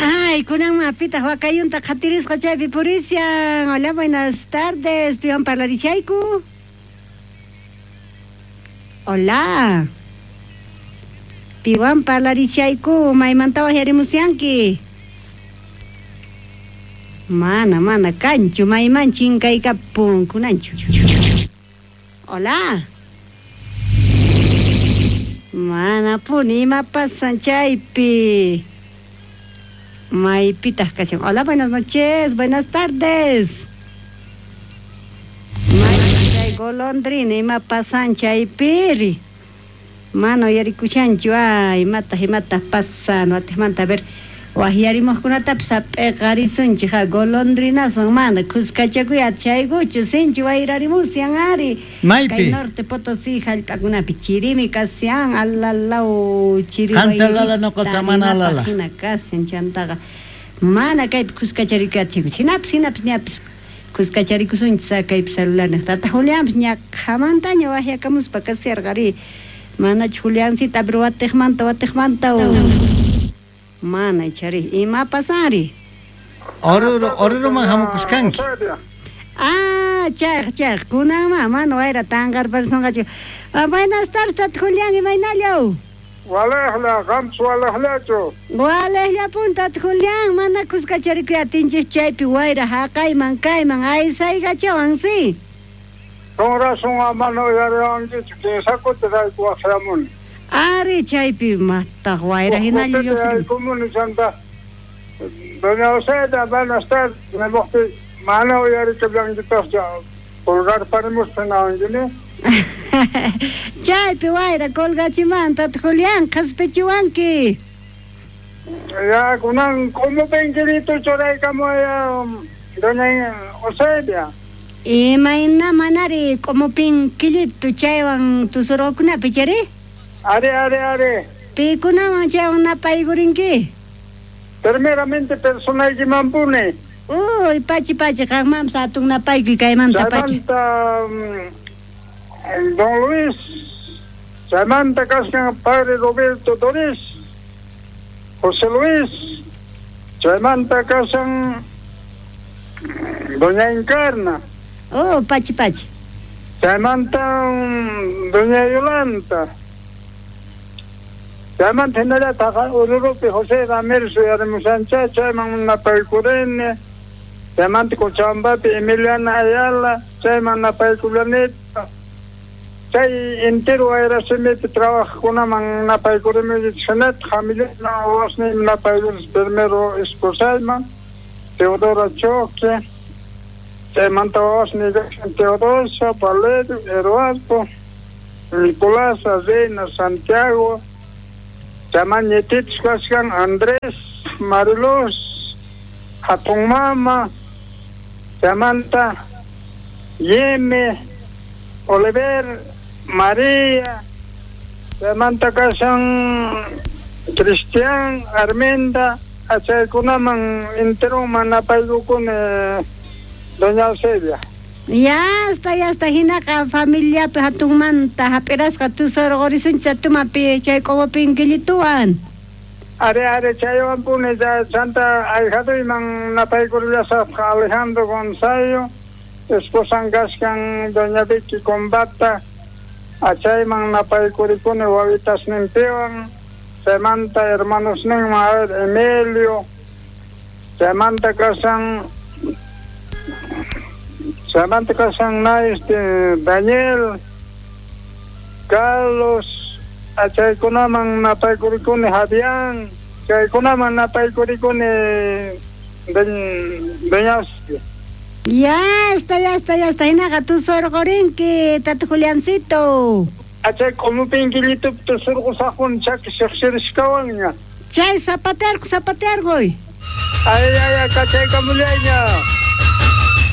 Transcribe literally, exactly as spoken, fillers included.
Ay, kunanman pitaq wakayunta qhatirisqa chaypi purishan. Hola, buenas tardes. Piwan parlarishayku? Hola. Piwan parlarishayku, maymanta wajyarimusyanki? Mana, mana, kanchu, mayman chinkaykapun kunanchu. Hola. Mana puni, ima pasan chaypi? Maypitaq kashan. Hola, buenas noches, buenas tardes. May chay golondrina, ima pasan chaypiri? Mana uyarikushanchu, ay, imataq, imataq pasan, watijmanta, a ver, wajyarimuqkunatapis hap'iqarisunchik, ha, golondrinaswan mana kuskachakuy achaykuchu, sinchi wayrarimusyan ari. Maypi? Kay Norte Potosí hallp'akunapi chirimi kashan, alalaw, chiri Qanta lala, nuqata mana lala. Hina kashan chantaqa mana kaypi kuskacharikuy achaykuchu, hinapis, hinapis, ñapis kuskacharikusunchis kaypi celular tata Julianpis ñaqhamantaña wajyakamuspa kasharqa ari. Manachu Juliancita, pero watijmanta, watijmanta. Mana ichari, ima pasanri? Oruro, oruruman hamukuskanki. Ah, chayq, chayq, kunanman mana wayra tanqarparisonqachu. Ah, buenas tardes, tata Julián, imaynallaw? Walejla, qampas walejlachu. Walejllapun, tata Julián, mana kuskacharikuy atinchik chaypi wayra haqayman kayman aysaykachawan, si. Con razón mana uyariwankichu, kinsa kutirayku waqyamuni. Ari chaypi mataq wayra hinalla lluqsirin. Yaykumuni chanta. Doña Eusebia, buenas tardes, nimuqti mana uyarikallankitaqchu, colgarparimuspa nawankini. Chaypi wayra colgachiman, tata Julián, qhaspichiwanki. Ya, kunan k'umupinkiritu churaykamuy, doña Eusebia. Imayna manari k'umupinkillitu chaywan tusurqakunapi chari? Ari, ari, ari. Pikunawan chaywan napaykurinki? Primeramente personaykimanpuni. Uy, pachi, pachi, qanmanpas hatun napaykuy kaymanta pachi. Chaymanta, don Luis, chaymanta kashan padre Roberto Doris, José Luis, chaymanta kashan doña Encarna. Oh, pachi, pachi. Chaymanta doña Yolanda. Chaymanta hinallataq Ururupi José Ramírez uyarimushancha, chayman napaykurini. Chaymanta Cochabambapi Emiliana Ayala, chayman napaykullanita. Chay entero wayrasimipi trabajaqkunaman napaykurini, hinataq familiaman wawasniyman napaykuris, primero esposayman, Teodora Choque. Chaymanta wawasniy kashan Teodosio, Valerio, Eduardo, Nicolás, Reina, Santiago. Chayman ñitichus kashkan Andrés, Mariluz, hatun mama, chaymanta Yeme, Oliver, María, chaymanta kashan Cristian, Arminda, achaykunaman enteroman napaykukuni, doña Eusebia. Ya está, ya está, hinaqa familiapi hatunmanta hap'irasqa tusurqurisunchik tumapi chay k'umupinkillituwan. Ari, ari, chaywanpuni chanta ahijaduyman napaykurillasaqqa Alejandro Gonzalo, esposan kashkan doña Vicky Combata, achayman napaykurikuni wawitasninpiwan, chaymanta hermanosninman, a ver, Emilio, chaymanta kashan chaymanta kashan na este Daniel, Carlos, achaykunaman napaykurikuni Javián, chaykunaman napaykurikuni doña Eusebia. Ya está, ya está, ya está. Hinaqa tusurqurinki, tata Juliancito. Achay k'umupinkillitupi tusurqusaqpuni chaki siqsirishkawanña. Chay zapatearqu, zapatearquy. Ay, ay, ay, kachaykamullayña.